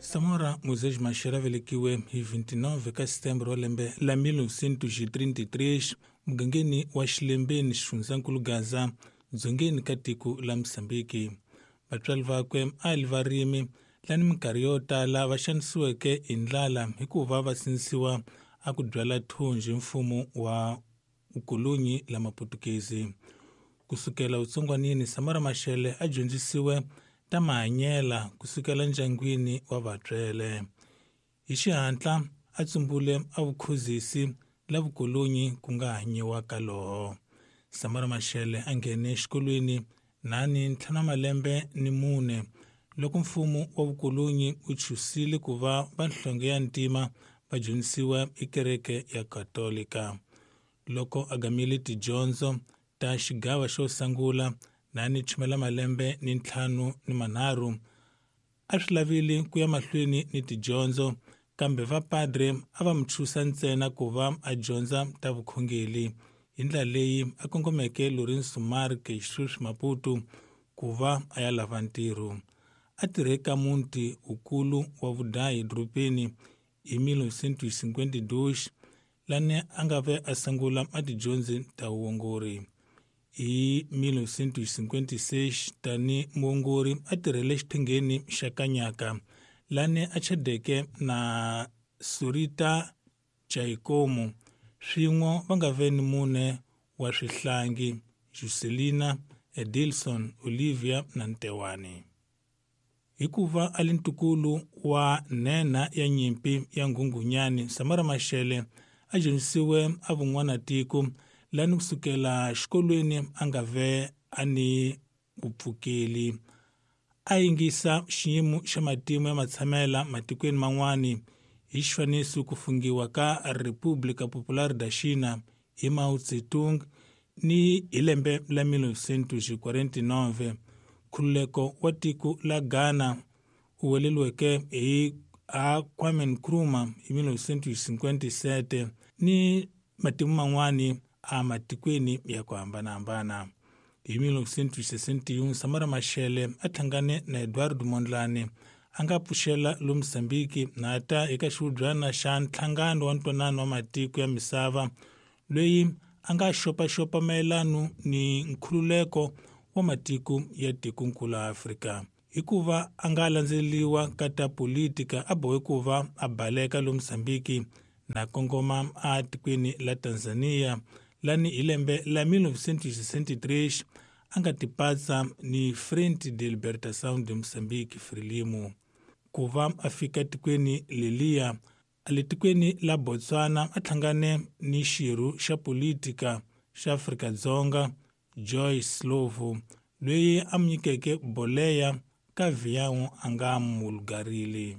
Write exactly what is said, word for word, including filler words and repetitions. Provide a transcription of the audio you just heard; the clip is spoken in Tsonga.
Samora Moisés Machel a velekiwe hi vinte e nove ka Setembro wa lembe la mil novecentos e trinta e três mugangeni wa Xilembeni, xifundzankulu Gaza, dzongeni ka tiko la Mosambiki. Vatswari vakwe a li varimi lani minkarhi yo tala va xanisiweke hi ndlala hikuva va sindzisiwa a ku byala thunji mfumo wa vukolonyi la Maputukezi. Kusukela utsongwanini, Samora Machel a dyondzisiwe ta mahanyela kusukela ndyangwini wa vatswele. Hi xihatla a tsumbule a vukhuzisi la vukolonyi ku nga hanyiwa ka loho. Samora Machel a nghene exikolweni nani ntlhanu wa malembe ni mune loko mfumo wa vukolonyi wu chusile ku va vanhlonge ya ntima va dyondzisiwa hi kereke ya Katolika. Loko a gamile tidyondzo ta xigava xo sungula nani chumela malembe ni ntlhanu ni manharhu, a swi lavile ku ya mahlweni ni tidyondzo, kambe vapadre a va mu chusa ntsena ku va a dyondza ta vukhongeri. Hi ndlela leyi a kongomeke Lourenço Marques, sweswi Maputo, ku va a ya lava ntirho. A tirhe ka muti wukulu wa vudayi dorobeni hi mil novecentos e cinquenta e dois, lani a nga ve a sungula a tidyondzi ta vuongori. Hi mil novecentos e cinquenta e seis, tani muongori a tirhele xiphengeni xa Kanyaka, lani a chadeke na Surita Jaikomo. Swin'we va nga ve ni mune wa swihlangi: Juscelina, Edilson, Olivia na Ntewani. Hikuva a li ntukulu wa nhenha ya nyimpi ya Nghunghunyani, Samora Machel a dyondzisiwe a vun'wanatiko, lani kusukela xikolweni a nga ve a ni vupfukeli. A yingisa xiyimo xa matimu ya matshamela matikweni man'wani, hi xifaniso ku fungiwa ka República Popular da China hi Mao Zedong ni hi lembe la mil novecentos e quarenta e nove, nkhululeko wa tiko la Ghana wu weleriweke hi a Kwame Nkrumah hi mil novecentos e cinquenta e sete, ni matimu man'wani a matikweni ya ku hambanahambana. Hi mil novecentos e sessenta e um, Samora Machel a hlangane na Eduardo Mondlane, a nga pfuxela lo Mozambique na ta eka xihubyana xa nhlangano wa ntwanano wa matiko ya misava, loyi a nga xopaxopa mayelano ni nkhululeko wa matiko ya tikonkulu la Afrika. Hikuva a nga landzeleriwa ka ta politika, a bohe ku va a baleka lo Mozambique na kongoma a tikweni la Tanzania, lani hi lembe la mil novecentos e sessenta e três a nga tipatsa ni Frente de Libertação de Moçambique, Frelimo. Ku va a fika tikweni leliya, a le tikweni la Botswana a hlangane ni xirho xa politika xa Afrika-Dzonga Joyce Slovo, loyi a mu nyikeke boleya ka vhiyawu a nga mulugarile.